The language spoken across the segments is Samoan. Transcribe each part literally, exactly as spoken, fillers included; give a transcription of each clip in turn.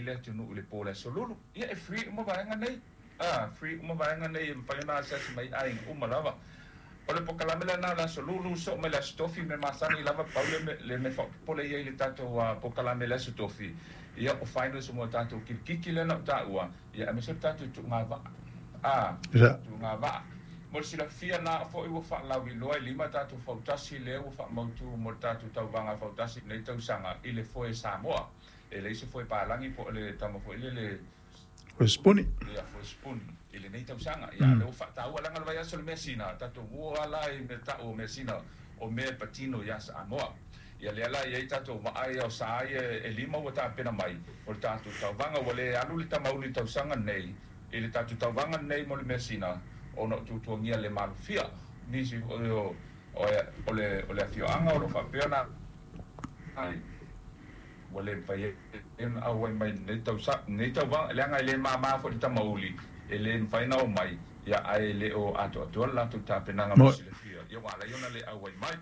le atunuu i le po o le Aso Lulu. Ia e free uma vaega nei. A, free uma vaega nei e mafai ona asiasi mai aiga uma lava. O le polokalame lena o le Aso Lulu, soo mai le Aso Tofi me masani lava pau le me, le me faapopole ia i le tatou uh, polokalame le Aso Tofi. Ia o finals mo tatou kilikiki lena o taua, ia aemaise le tatou tuuga vaa. A, Ia. tuuga vaa. Mo le silafia na fo'i ua fa'alauiloa e lima tatou fautasi lea ua fa'amautu mo le tatou tauvaga fautasi nei tausaga i le foe Samoa. E leai se foe palagi po o le tama fo'i lele O le sipuni. Ia foe spoon i lenei tausaga. Ia lea ua fa'ataua laga le vaiaso le measina tatou ua ala i mea ta'u o measina o mea e patino iā Samoa. Ia lea la iai tatou va'a ia o sa ia e lima ua tapena mai o le tatou tauvaga ua lē alu le tamauli tausaga nei i le tatou tauvaga nei mo le measina ona o tuatuagia le malofia nisi o o o le o le afioaga o lo faapea ona ua le mafai ai ona auai mai lenei tausa lenei tauvaga leaga e lē māmā fo'i le tamauli e lē mafai ona omai ia ae le o atoatoa le latou tapenaga mo Mo silafia ia ua alai ona le auai mai.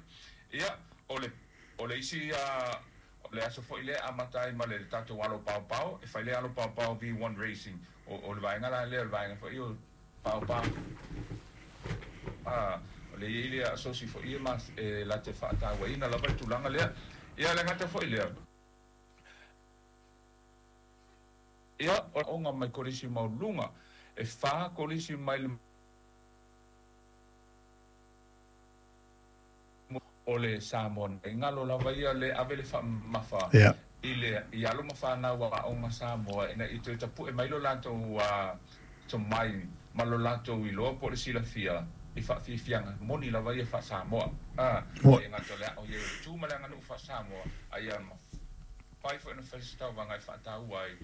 Ia o le o le isi a o le aso fo'i lea amata ai ma le tatou alo paopao e fai le alo paopao V one Racing o o le vaega la lea o le vaega fo'i o paopao a o le iai le asosi fo'i e ma e late fa'atauaina lava le tulaga lea. Ia le gata fo'i lea ia o mai kolisi mauluga e fa kolisi mai le o le Samoa nei galo lava ia le ave le fa'amamafa Ia. i le i alo ma fanau a'oga Samoa ina i toe tapu'e mai lo latou a tomai ma lo latou iloa po o le silafia i fa'afiafiaga moni lava ia fa'asamoa a Mo e gata o le a'o ia o le tu ma le aganuu fa'asamoa aia mafai fo'i ona fai se tauvaga e fa'ataua ai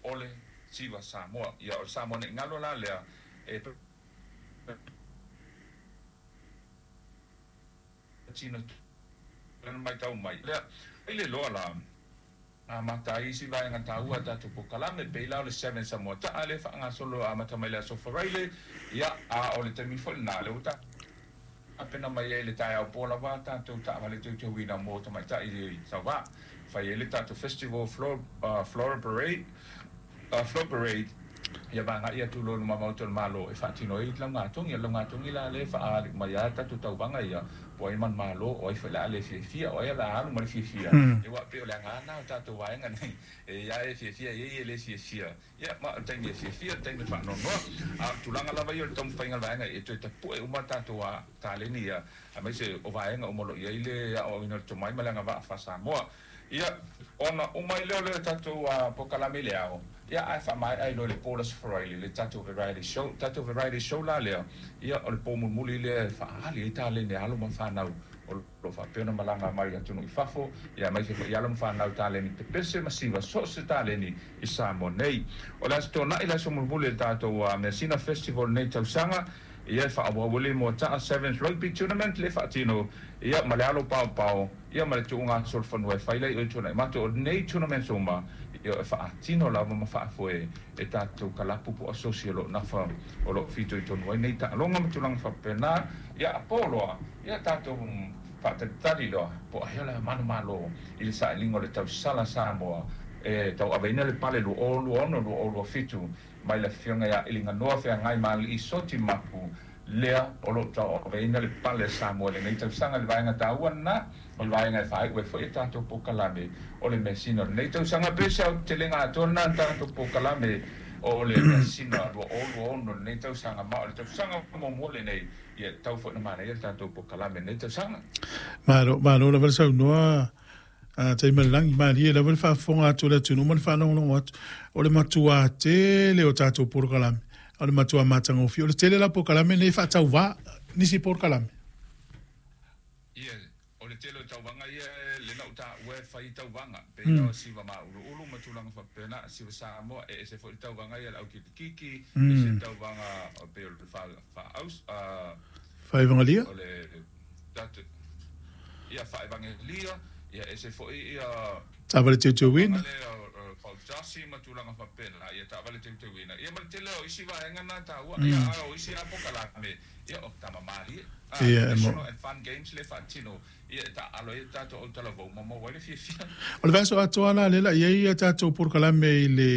o le siva Samoa. Ia o le Samoa nei galo la lea e tino lana matau mai lea i le loa la amata ai isi vaega taua tatou polokalame pei la o le Seven Samoa ta'a le fa'agasolo amata mai le aso Faraile. Ia a o le taimi fo'i lenā le ua tapena mai ai le taeao po lava tatou ta'avale teuteuina mo tamaita'i sauvā fai ai le tatou festival floor, uh, floral parade uh, floor parade. Ia vaga'i atu lo luma maota o le Malo e fa'atino ai laugatogi laugatogi la le fa'aali mai a tatou tauvaga ia po ai manumalo o ai fo'i la le fiafia o ai la alu ma le fiafia e ua pei o le agana o tatou vaega nei e ia e fiafia ia e le fiafia ia ma o le taimi e fiafia le taimi e fa'anoanoa a tulaga lava ia o le taumafaiga le vaega e toe tapu'e uma tatou a taleni ia aemaise o vaega uma o lo'o i ai le a'oa'oina o le tomai ma le agava'a fa'asamoa. Ia ona uma i lea o le tatou polokalame i le ao ia ae fa'amae'a ai loa le po le Aso Faraile le tatou variety show tatou variety show la lea. Ia o le po mulimuli lea e fa'aali ai taleni alo ma fanau o lo fa'apea ona malaga mai atunuu i fafo ia aemaise fo'i alo ma fanau taleni pepese ma siva so o se taleni i Samoa nei. O le aso Tona'i le aso mulimuli le tatou measina festival nei tausaga ia e fa'aauau le moata'a Sevens Rugby Tournament le fa'atino ia ma le alo paopao ia ma le tu'uga solofanua e fai lai o i tuana'i mato o lenei tournament uma ia e fa'atino lava ma fa'afoe e tatou kalapu po o asosi o lo'o nafa o lo'o fitoitonu ai nei ta'aloga ma tulaga fa'apena. Ia apo loa ia tatou fa'atalitali loa po o ahea le manumalo i le sa'iliga o le tausala Samoa e tau'aveina le pale lua o lua ono lua o lua fitu mai le afioga iā Iliganoa Feagai ma Alii Soti Mapu lea o lo'o tau'aveina le pale Samoa lenei tausaga le vaega taua lena o le vaega e fa'ai'u ai fo'i e tatou polokalame o le measina o lenei tausaga pe se autelega atoa lena tatou polokalame o le measina lua o lua ono lenei tausaga ma o le tausaga muamua lenei ia tau fo'i na manaia le tatou polokalame lenei tausaga. Malo, malo lava le saunoa a Taimalelagi malie lava le faafofoga atu o le atunuu ma le faalogologo atu o le matuā tele o tatou polokalame o le matuā matagofie o le tele la polokalame nei fa'atauvā nisi polokalame. Ia o le tele o tauvaga ia lena o ta'ua e fai tauvaga pei la o siva ma'ulu'ulu ma tulaga fa'apena siva Samoa e ese fo'i le tauvaga ia le aukilikiki ese tauvaga o pei o le fa'aaus Fa'aevagelia. O le tatou ia fa'aevagelia ia ese fo'i ia Ta'avale teuteuina. Fautasi ma tulaga fa'apena ia ta'avale teuteuina ia ma le tele o isi vaega na taua ia a o isi a pokalame ia o tamamalie Ia e mo National and Fun Games le fa'atino ia e ta'alo ai tatou autalavou ma maua ai le fiafia. O le vaiaso atoa la lela i ai ia tatou polokalame i le